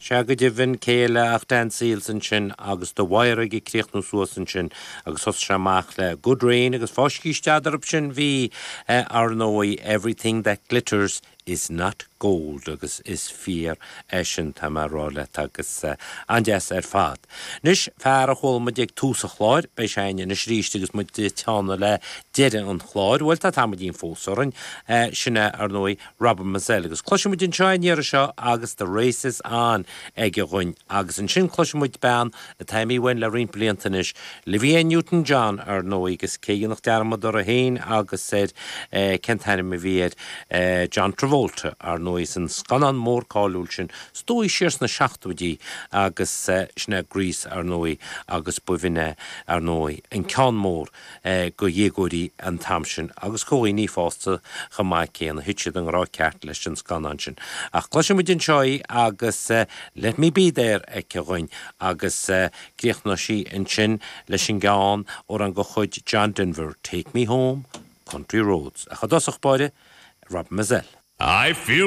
Sea go deimhin, cé eile ach Dan Seals ansin agus The Wire ag críochnú suas ansin agus thosaigh sé amach le Good Rain agus fá scíste eadarthub sin bhí, ar ndóigh, Everything That Glitters Is Not Gold agus is fíor é sin tá mé a rá leat agus an-deas ar fad. Anois, fear a chuala muid ag tús an chláir, beidh sé againn anois arís agus muid ag teannadh le deireadh an chláir, bhuel tá tamaillín fós orainn, sin é ar ndóigh Robert Mizzell agus cloisfidh muid anseo é an iarraidh seo agus The Race Is On aige dhuinn agus ansin cloisfidh muid bean atá imithe uainn le roinnt blianta anois, Olivia Newton-John ar ndóigh agus cé a dhéanfadh dearmad uirthi féin agus ar cén t-ainm a bhí air, John Travolta ar ndóigh san scannán mór cáiliúil sin is dóigh siar sna seachtóidí agus sin é Grease ar ndóigh agus b'shin é ar ndóigh an ceann mór go dhéagóirí an t-am sin agus go dhaoine fásta chomh maith céanna. Thit siad i ngrá ceart leis an scannán sin. Ach cloisfidh muid anseo í agus Let Me Be There aici dhuinn agus críochnóidh sí ansin leis an gceann, amhrán de chuid John Denver, Take Me Home, Country Roads. Ach i dtosach báire, Robert Mizzell. I feel.